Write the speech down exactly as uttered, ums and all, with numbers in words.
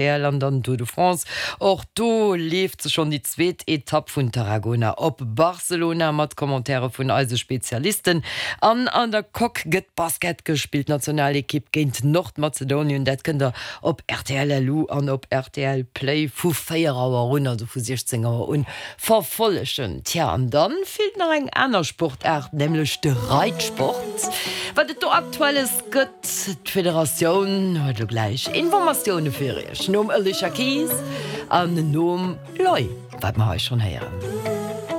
R T L an dann Tour de France. Och do leeft se schonn, déi zweet Etapp vun Tarragona op Barcelona mat Commentaire vun eise Spezialisten. An an der Coque gëtt Basket gespillt, Nationalekipp géint Nordmazedonien. Dat kënnt der op R T L L U an op R T L Play vu véier Auer un, also vu siechzéng Auer un, verfollegen. Tja, an dann feelt nach eng aner Sportaart, nämlech de Reitsport. Wat et do Aktuelles gëtt, d'Federatioun huet elo gläich Informatioune fir iech. Nom Alicia Keys an nom Loi, wat mer hei schonn héieren.